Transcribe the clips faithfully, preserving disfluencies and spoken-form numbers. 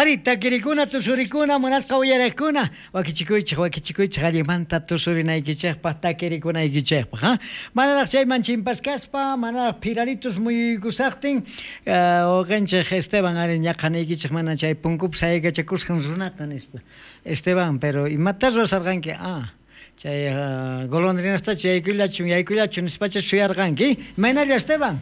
Ari, takirikuna, tusurikuna, munasqa uyariqkuna, wakichikuychik, wakichikuychik allimanta tusurinaykichikpaq, takirikunaykichikpaq, ha? Manaraq chayman chimpaskaspa, manaraq phiraritus muyuykusaqtin, wawqinchik Esteban ari ñaqanaykichik mana chay punkupi sayaykachakusqan runaqa nispa. Esteban, pero imata ruwasarqanki? Ah, chay golondrinastachu yaykullachun, yaykullachun nispacha suyarqanki. Imaynalla Esteban?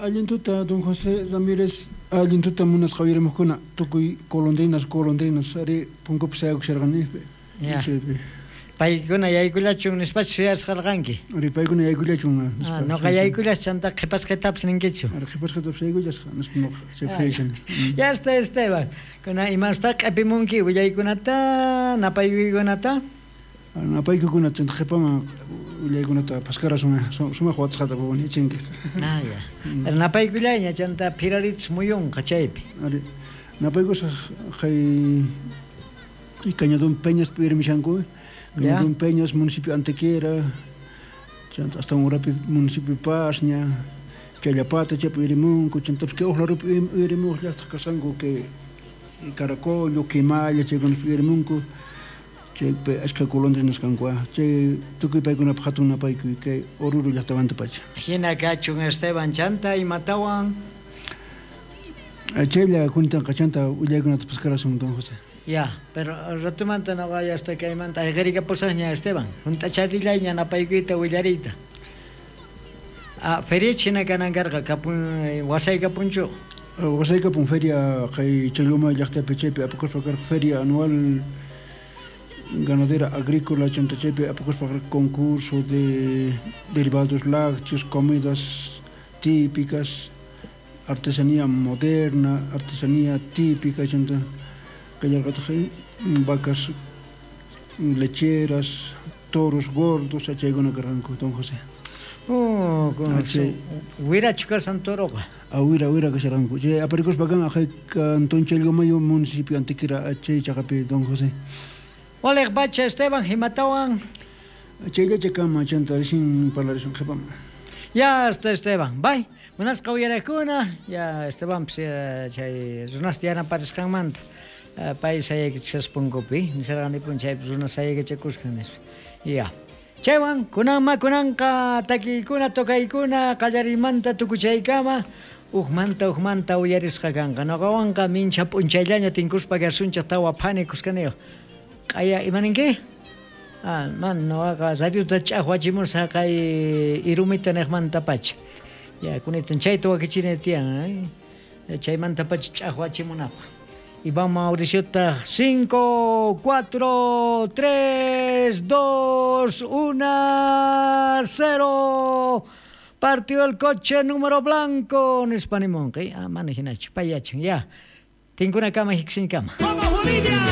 Allin tuta, don José Ramírez, allin tuta munasqa uyarimuqkuna, tukuy golondrinas, golondrinas, ari punkupi sayakusharqani. Ya. Paykuna yaykullachun nispacha suyasqarqanki. Ari paykuna yaykullachun nispa. Ah, noqa yaykullas chanta qhipasqitapas ninkichu. Ari qhipasqitapas yaykullasqa nispa noqa chaypi suyashani. Ya está Esteban. Kuna imasta q'ipimunki willaykunata, napaykuykunata? Napaykukuna chanta qhipaman willaykunata paskarasun sumaq watasqata yachanki. Ah, ya. Pero napaykullayña chanta phiraritus muyunqa chaypi. Ari napaykusaq kay Cañadón Peñas uyarimishanku. Cañadón Peñas, municipio Antequera, chanta hasta urapi municipio Pasña, Challapata chaypi uyarimunku, chantapis kay uq larupi uyarimuq llaqtaq kasqanku kay Caracollo, Quimalla chaykunapi uyarimunku. Chaypi achka golondrinas kanku, chay tukuy paykunapaq hatun napaykuy kay Oruro llaqtamanta pacha. Hina kachun Esteban chanta imatawan? Chaylla kuntanqa chanta willaykunata paskarasun don José. Ya, pero ratumanta noqa ya hasta kaymanta ayqirikapusaqña Esteban. Hunt'acharillayña napaykuyta willariyta. Ah, feria hina kanan karqa kapun wasaykapunchu? Wasaykapun feria kay Challuma llaqtapi chaypi apakuspa karqa feria anual ganadera agrícola, chanta chaypi apakuspa karqa concurso de derivados lácteos, comidas típicas, artesanía moderna, artesanía típica, chanta kallarqataq vacas lecheras, toros gordos, chaykuna karqanku don José. Oh, wirachu kashan toroqa? Ah, wira, wira kasharqanku. Chay aparikuspa kan aqhay cantón Challhuamayo municipio Antequera chay chaqapi don José. Waliq pacha Esteban himatawan? Chayllacha kama chanta recién parlarisun qhipaman. Ya está Esteban, bye. Munasqa uyariqkuna, ya Estebanpis chay runasta yanaparisqanmanta. Pay sayaykachishaspa punkupi, nisarqanipuni chaypi runa sayaykachakusqan nispa. Ya. Chaywan kunanma kunanqa takiykuna tokaykuna qallariymanta tukuchaykama uqmanta uqmanta uyarisqa kanqa. Noqawanqa mincha p'unchayllaña tinkuspa kasunchik tawa phani kuskaniyuq. Q'aya imaninki? Ah, man noqaqa radiota ch'aqwachimusaq kay irumita niqmantapacha. Ya kunitan chayta wakichini tiyan, eh? Chaymantapacha ch'aqwachimunapaq. Iván Mauricio, cinco, cuatro, tres, dos, uno, cero. Partió el coche número blanco. Nispa nimunqi. Ah, mana hinachu, payachan, ya. Tinkuna kama, hiksin kama. ¡Vamos, Bolivia!